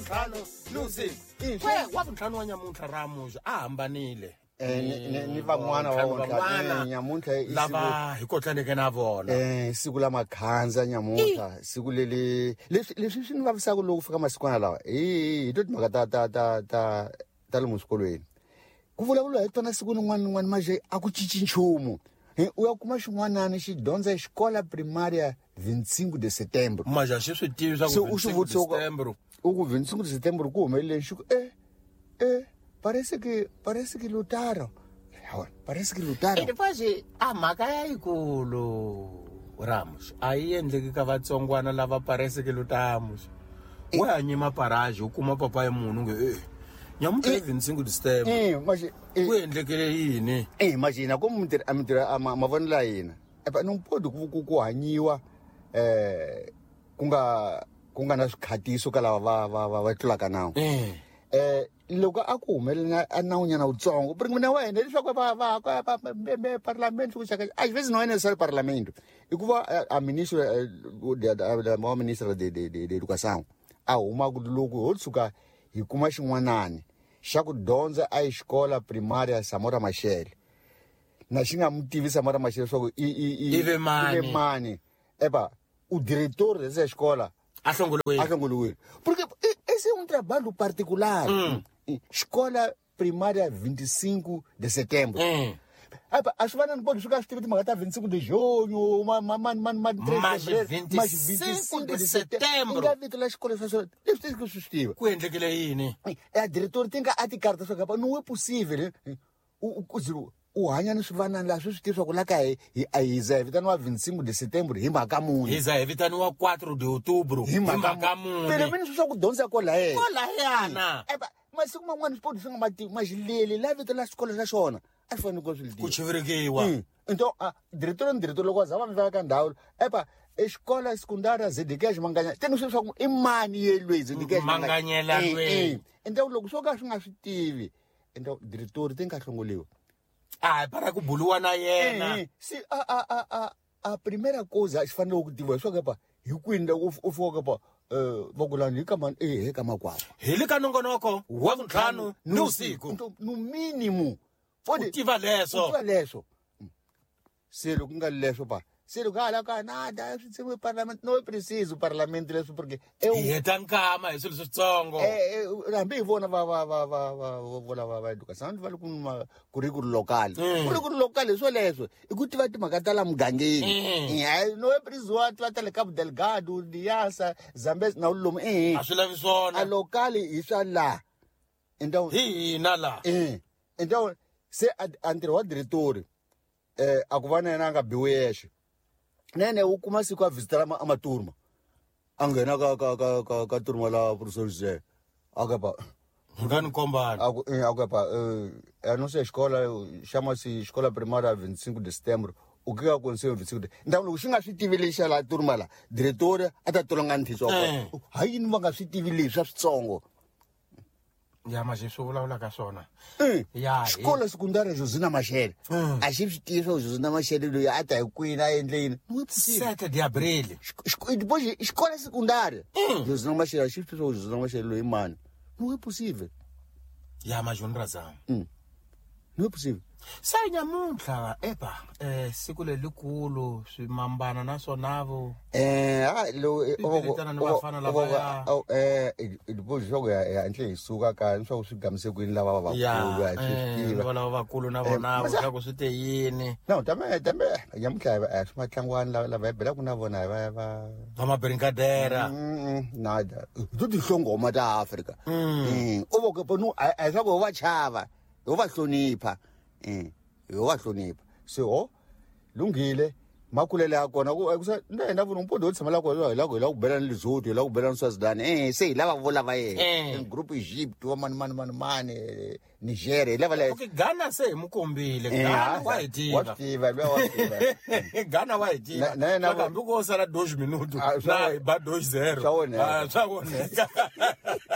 Wavuntlhanu ni usiku. Kwe wavuntlhanu wa nyamuntlha Ramuxa a hambanile. Ni van'wana va van'wana nyamuntlha lava hi kotlaneke na vona. Siku la makhandza nyamuntlha, siku leli leswi swi ni vavisaka loko fika masikwana lawa hi to timhaka ta lomu swikolweni. Ku vulavuriwa hi tona siku rin'wana ni rin'wana manje a ku cinci nchumu. U ya kuma xin'wanani xi dyondza xikola primaria 25 de setembro. Manje a xi swi tivi swa ku u xi 25 de vutisa setembro. U ku 25 de setembro ku humeleleni xi ku parece que lutaram. Parece que lutaram. E depois a mhaka ya yikulu Ramos a yi endleki ka vatsongwana lava parece que lutamos. Wa hanyima paraji u kuma papa ya munhu nge nyamuntlha i 25 de setembro. Mas ku endlekele yini? Imagina como a mavonelo ya hina. Não pode ku hanyiwa ku nga na swikhatiso ka lava va tlulaka nawu. Loko a ku humelela a nawunyana wutsongo porque mina wa hina leswaku va parlamento ku xaka às vezes não é necessário parlamento hikuva a ministro wa ministra de educação a huma ku loko ho tshuka hi kuma xin'wanani xa ku dyondza a xikola primaria Samora Machel na xi nga mu tivi Samora Machel leswaku i ve mani epa o diretor dessa escola a hlongoliwile porque esse é um trabalho particular. Escola primária 25 de setembro. A swi vana ni pode swi tiva timhaka ta 25 de junho, mas 25 de setembro. Nga vito la xikolo swa swona leswi ti swi tiva. Ku endlekele yini? A diretor ti nga a tikarta swa kapa não é possível. U hanya ni swivanani laha swi swi tiva ku la ka hi za hi vitaniwa 25 de setembro hi mhaka muni. Hi za hi vitaniwa 4 de outubro hi mhaka muni. Pelo menos swa ku dyondza kolahaya. Kolahayana. Masiku man'wana swipoti swi nga mativi maxileli la vito la xikolo xa xona a swi fanele ku swi ku chivirikiwa. Então diretor ni diretor loko a za va mi ka ndhawu epa exikola secundária ZDK Manganya teni swi swa ku i mani yelweyi ZDK Manganyela lweyi. Então loko swo ka swi nga swi tivi então diretor ti nga hlongoliwa. Para ku buluwa na yena. Se a primeira coisa xi fanele ku tiviwa leswaku epa hi kwini loko u fika pa vakulani hi ka mani hi ka makwavo. Hi le ka nongonoko wa vuntlhanu ni usiku. No mínimo. U tiva leswo. U tiva leswo. Se loko nga leswo pa se loko hala ka nada swi tsemiwe parlamento não é preciso parlamento leswo porque hi heta nkama hi swilo switsongo. Hambi hi vona va educação va le ku currículo local. Currículo local hi swo leswo i ku tiva timhaka ta la mugangeni. Não é preciso wa tiva ta le Cabo Delgado, Niassa, Zambezi na lomu A swi lavi swona. A local hi swa la. Então hi hina la. Então se a ntirho wa diretor a ku va na yena a nga biwi yexe. Nene u kuma siku a visitela a maturma. A nghena ka turma la professor José. A ka pa nga ni kombana. A ku pa a não sei escola chama-se escola primária 25 de setembro. O que aconteceu 25 de. Então loko xi nga swi tivi lexa la turma la diretor a ta tolonga ntiso. Ha yini va nga swi tivi leswi swa switsongo? Ya manje swi vulavula ka swona. Ya xikolo secundária Josina Machel. A xi swi tivi swa Josina Machel loyi a ta hi kwini a endle yini. 7 de abril. Depois escola secundária. Josina Machel a xi swi tivi swa Josina Machel loyi mani. Não é possível. Ya manje ni razão. Não é possível. Se nyamuntlha epa siku lelikulu swi mambana na swona vo. Depois jogo ya entle hi suka ka swa ku swi gamise kwini lava va vakulu a swi tiva. Lava vakulu na vona swa ku swi te yini. No tame nyamuntlha a swi matlangwani lava hi belaka na vona va va mabrinkadera. Nada. To tihlongoma ta Afrika. U vo ke no a swa ku va chava. Ho va hlonipha. Ho va hlonipha. Se ho lunghile makulele ya kona ku na hina vona mpondo tshama la kona hi la ku bela ni Lesotho hi la ku bela ni Swaziland se hi lava vo lava yena group Egypt wa mani Nigeria hi lava la. Okay, Ghana se hi mu kombile Ghana wa hi tiva. Wa tiva wa tiva. Ghana wa hi tiva. Hambi ko sala 2 minutos na hi ba 2-0. Swa onheka. Swa onheka.